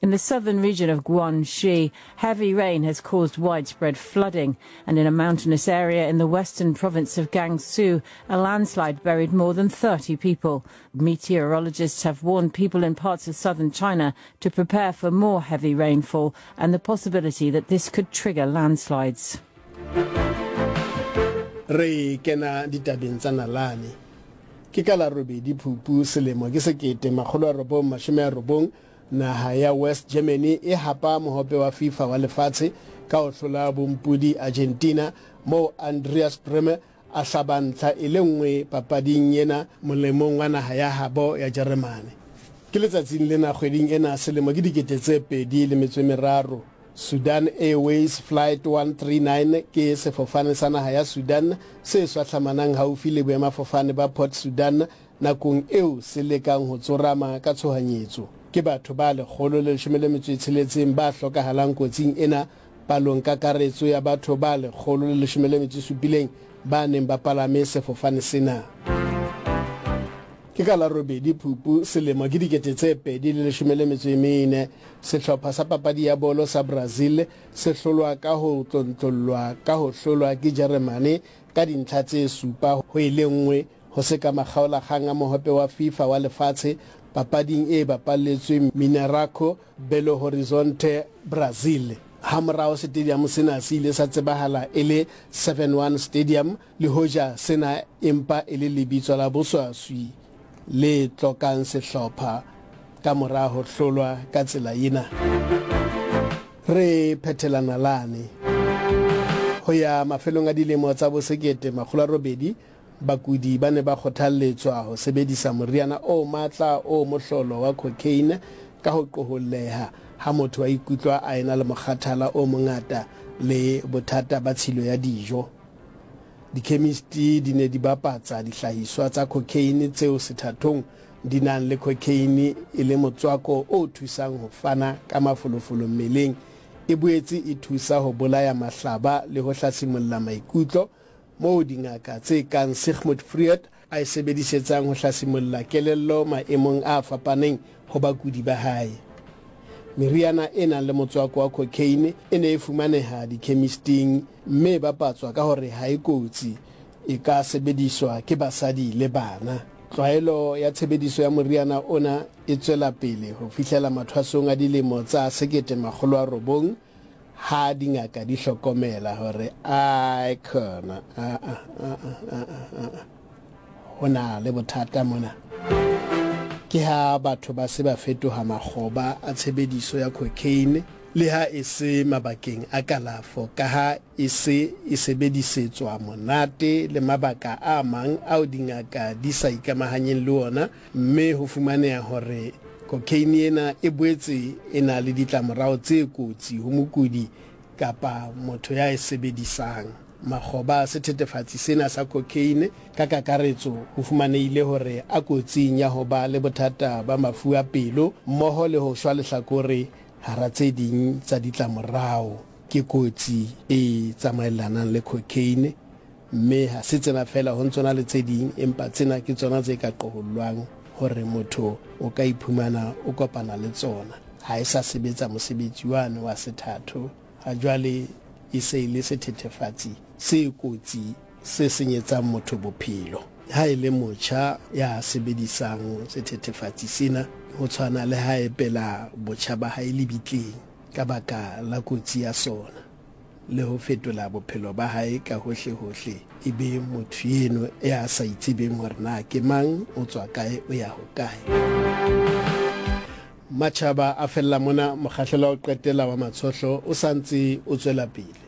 In the southern region of Guangxi, heavy rain has caused widespread flooding, and in a mountainous area in the western province of Gansu, a landslide buried more than 30 people. Meteorologists have warned people in parts of southern China to prepare for more heavy rainfall and the possibility that this could trigger landslides. Re kena ditabeng tsa nalane. Ke ka la robedi Phupu selemo ke 1990, naha ya West Germany e hapa mohope wa FIFA wa lefatshe ka ho hlola bompodi Argentina moo Andreas Brehme a hlaba ntlha e le nngwe papading ena molemong wa naha ya habo ya Jeremane. Ke letsatsing lena kgweding ena selemo ke 2003, Sudan Airways Flight 139 ke sefofane sa naha ya Sudan se swahlamanang haufi le boemafofane ba Port Sudan nakong eo se lekang ho tsorama ka tshohanyetso. Ke batho ba 116 ba hlokahalang kotsing ena palong kakaretso ya batho ba 117 ba neng ba palame sefofane sena. Ke ka la robedi Phupu selemo ke 2014, sehlopha sa papadi ya bolo sa Brazil se hlolwa ka ho tlontlollwa ka ho hlolwa ke Jeremane ka dintlha tse supa ho e le nngwe ho se ka makgaolakgang a mohope wa FIFA wa lefatshe papading e bapalletsweng Mineiraco, Belo Horizonte, Brazil. Hamorao setediamo sena se ile sa tsebahala e le Seven-One Stadium Le hoja sena e mpa e le lebitso la boswaswi le tlokang sehlopha ka mora ho hlolwa ka tsela ena. Re phethela nalane. Ho ya mafelong a dilemo tsa bo 1800, bakudi ba ne ba kgothalletswa ho sebedisa moriana o matla o mohlolo wa cocaine ka ho qoholleha ha motho a ikutlwa a ena le mokgathala o mongata le bothata ba tshilo ya dijo. Dikhemisti di ne di bapatsa dihlahiswa tsa cocaine tseo sethathong di nang le cocaine e le motswako o thusang ho fana ka mafolofolo mmeleng. E boetse e thusa ho bolaya mahlaba le ho hlasimolla maikutlo, moo dingaka tse kang Sigmund Freud a e sebedisetsang ho hlasimolla kelello maemong a fapaneng ho bakudi ba hae. Meriana e nang le motswako wa cocaine e ne e fumaneha dikhemisting mme e bapatswa ka hore ha e kotsi, e ka sebediswa ke basadi le bana. Tlwaelo ya tshebediso ya moriana ona e tswela pele ho fihlela mathwasong a dilemo tsa 1900 ha dingaka di hlokomela hore ae khona aa aa aa ho na le bothata mona. Ke ha batho ba se ba fetoha makgoba a tshebediso ya cocaine le ha e se mabakeng a kalafo ka ha e se e sebedisetswa monate le mabaka a mang ao dingaka di sa ikamahanyeng le ona mme ho fumaneha hore cocaine ena e boetse e na le ditlamorao tse kotsi ho mokudi kapa motho ya e sebedisang. Makgoba a sethethefatsi sena sa cocaine ka kakaretso ho fumanehile hore a kotsing ya ho ba le bothata ba mafu a pelo mmoho le ho shwa lehlakore hara tse ding tsa ditlamorao. Ke kotsi e tsamaellanang le cocaine Mme ha se tsena feela, ho ntso na le tse ding, empa tsena ke tsona tse ka qohollwang hore motho o ka iphumana o kopana le tsona. Ha e sa sebetsa mosebetsi wane wa sethatho, ha jwale e se e le sethethefatsi se kotsi se senyetsang motho bophelo. Ha e le motjha ya sebedisang sethethefatsi sena, ho tshwana le ha epela botjha ba hae lebitleng ka baka la kotsi ya sona. le ho fetola bophelo ba hae ka hohle-hohle, e be motho eno ea sa itsebeng hore na ke mang, o tswa kae, o ya hokae. Machaba a fella mona, mokgahlelo wa ho qetela wa Matshohlo o sa ntse o tswela pele.